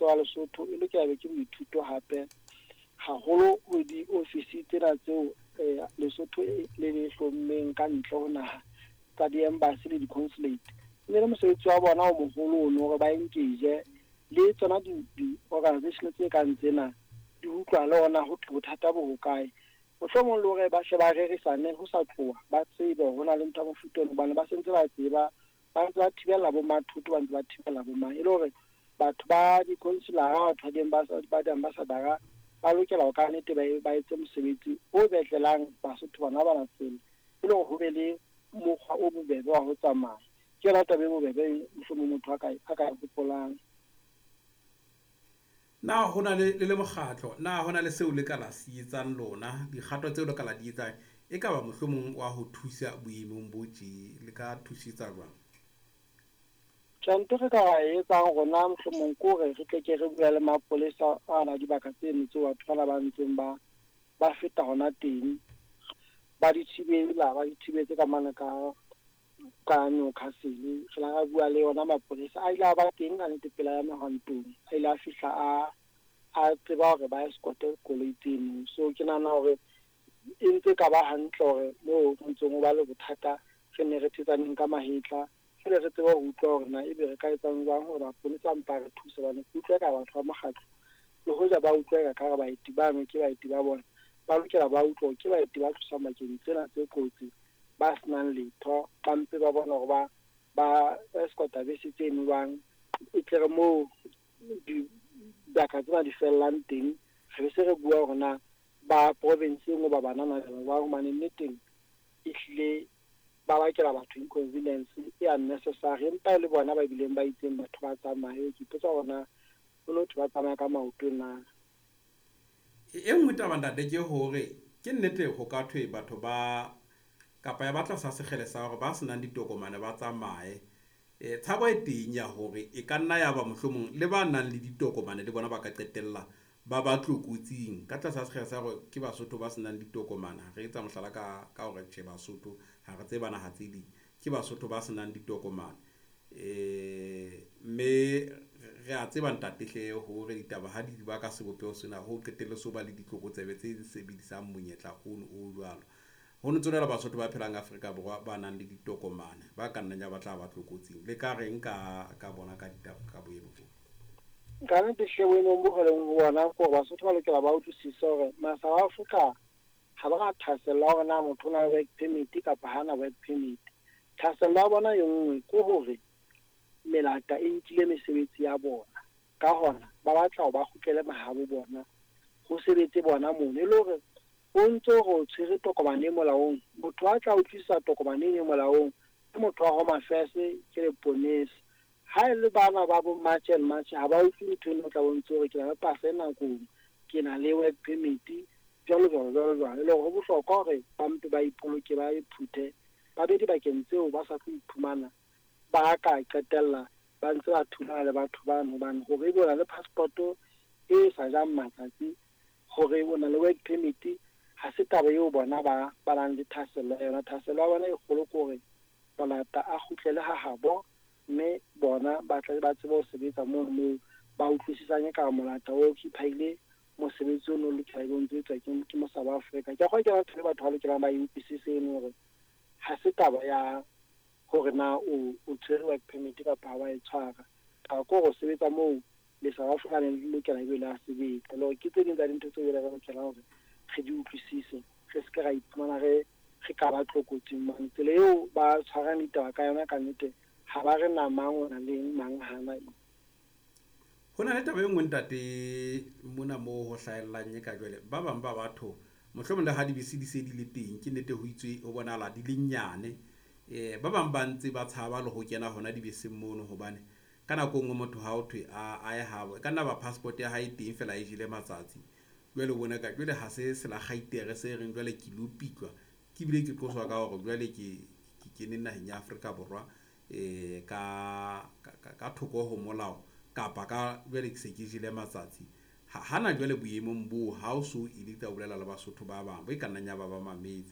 Mmuso wa Lesotho e lokela be ke boithuto hape haholo ho diofisi tsena tseo Lesotho le le hlommeng ka ntle ho naha tsa di-embassy le di-consulate. E ne le mosebetsi wa bona o moholo ono hore ba engage le tsona di-organization tse kang tsena, di utlwa le ona ho thwe bothata bo hokae. Mohlomong le hore ba hle ba rerisane ho sa tloha, ba tsebe hore ho na le ntho ya mofuta ono, hobane ba sentse ba tseba, ba ntse ba thibella bo mathoto, ba ntse ba thibella bo mang, e le hore batho ba di-consular-a, batho ba di-ambassador-a ba lokela ho ka nnete ba etse mosebetsi o betlelang Basotho bana bana tsela, e le hore ho be le mokgwa o bobebe wa ho tsamaya. Ke yona taba e bobebe mohlomong motho a ka e hopolang. Na ho na le mokgatlo, na ho na le seo le ka la se etsang lona, dikgato tseo le ka la di etsang, e ka ba mohlomong wa ho thusa boemong bo tje, le ka thusetsa jwang? Tjhe, ntho re ka e etsang rona mohlomong ke hore re tle ke re bua le mapolesa ana dibaka tseno tseo batho bana ba ntseng ba feta hona teng, ba di thibela, ba di thibetse ka mane ka Newcastle. Re la ra bua le yona mapolesa, a ile a ba teng ka nnete pela ya mehwantong, a ile a fihla a tseba hore ba escorte koloi tseno. So ke nahana hore e ntse ka ba hantle hore moo ho ntseng ho ba le bothata, re ne re thetsaneng ka mahetla, jwale re tsebe ho utlwa hore na ebe re ka etsang jwang hore maponesa a mpa re thuse, hobane ke utlwa eka batho ba mokgatlo le hoja ba utlwa eka ka re baeti bano ke baeti ba bona, ba lokela ba utlwa hore ke baeti ba tloswang bakeng tsena tse kotsi, ba senang letho, ba mpe ba bona hore ba escorta bese tseno jwang, e tle re moo dibaka tsena di fellang teng, re be se re bua hore na ba province e nngwe ba banana jwang, hobane nneteng ehlile ba bakela batho inconvenience e unnecessary, empa e le bona ba bileng ba itseng batho ba tsamaye. Ke ipotsa hore na ho no thwe ba tsamaya ka maoto na. E nngwe taba ntate ke hore ke nnete ho ka thwe batho ba kapa ya batla sa sekgele sa hore ba senang ditokomane ba tsamaye. Tshabo e teng ya hore e ka nna ya ba mohlomong le ba nang le ditokomane le bona ba ka qetella ba ba tlokotsing ka tlasa sekgele sa hore ke Basotho ba senang ditokomane. Re etsa mohlala ka hore tjhe Basotho ha re tseba naha tse ding, ke Basotho ba senang ditokomane. Mme re a tseba ntate hle hore ditaba ha di ba ka sebopeho sena ho qetelle so ba le ditlokotsebe tse sebedisang monyetla ono o jwalo. Ho no tswela Basotho ba phelang Afrika Borwa ba nang le ditokomane ba ka nnang ya ba tla ba tlokotsing. Le ka reng ka bona ka ditaba ka boemo bo? Ka nnete hle boemong bo re leng ho bona ke hore Basotho ba lokela ba utlwisise hore ma-South Africa ha ba na thahasello ya hore na motho o na le work permit kapa ha na work permit. Thahasello ya bona e nngwe ke hore melata e nkile mesebetsi ya bona, ka hona ba batla hore ba kgutlele mahabo bona, ho sebetse bona mono. E le hore o ntso re o tshwere tokomane e molaong, motho a tla utlwisisa tokomane e molaong ke motho wa Home Affairs, ke leponesa. Ha e le bana ba bo March and March ha ba utlwe ntho eno, o tla bo ntse hore ke na le pasa e nakong, ke na le work permit, jwalo jwalo jwalo jwalo. E le hore ho bohlokwa hore ba mpe ba ipoloke, ba iphuthe, ba be dibakeng tseo ba sa tlo iphumana ba ka qetella ba ntse ba thulana le batho bano, hobane hore ebe o na le passport e sa jang matsatsi, hore o na le work permit, ha se taba eo bona ba nang le thahasello ya yona. Thahasello ya bona e kgolo ke hore molata a kgutlele ha habo, mme bona ba tle ba tsebe ho sebetsa mono moo ba utlwisisang ekare molata o occupy-ile mosebetsi ono o lokela ebe o ntso etswa ke mo South Africa. Ke a kgolwa ke yona ntho e batho ba lokelang ba e utlwisise eno, hore ha se taba ya hore na o tshwere work permit kapa ha wa e tshwara. Taba ke hore o sebetsa moo le South Africa le lokela ebe le a sebetsa. Le hore ke tse ding tsa dintho tseo re lokelang hore re di utlwisise, re se ke ra iphumana re ka ba tlokotsing mane. Tsela eo ba tshwarang ditaba ka yona ka nnete, ha ba re na mang o na le eng, mang hana eng. Ho na le taba e nngwe ntate mona moo ho hlahellang e ka jwale, ba bang ba batho mohlomong le ha dibese di se di le teng, ke nnete ho itswe ho bonahala di le nyane. Ba bang ba ntse ba tshaba le ho kena hona dibeseng mono, hobane ka nako e nngwe motho ha o thwe a ye habo, e ka nna ba passport ya hae teng fela e jele matsatsi. Jwale o bona ka jwale ha se selakgaitere se reng jwale ke lo pitlwa, ke bile ke qoswa ka hore jwale ke kene naheng ya Afrika Borwa ka thoko ho molao, kapa ka jwale ke se ke jele matsatsi. Hana jwale boemong boo ha o so ile tla bolela le Basotho ba bang bo e ka nnang ya ba ba mametse.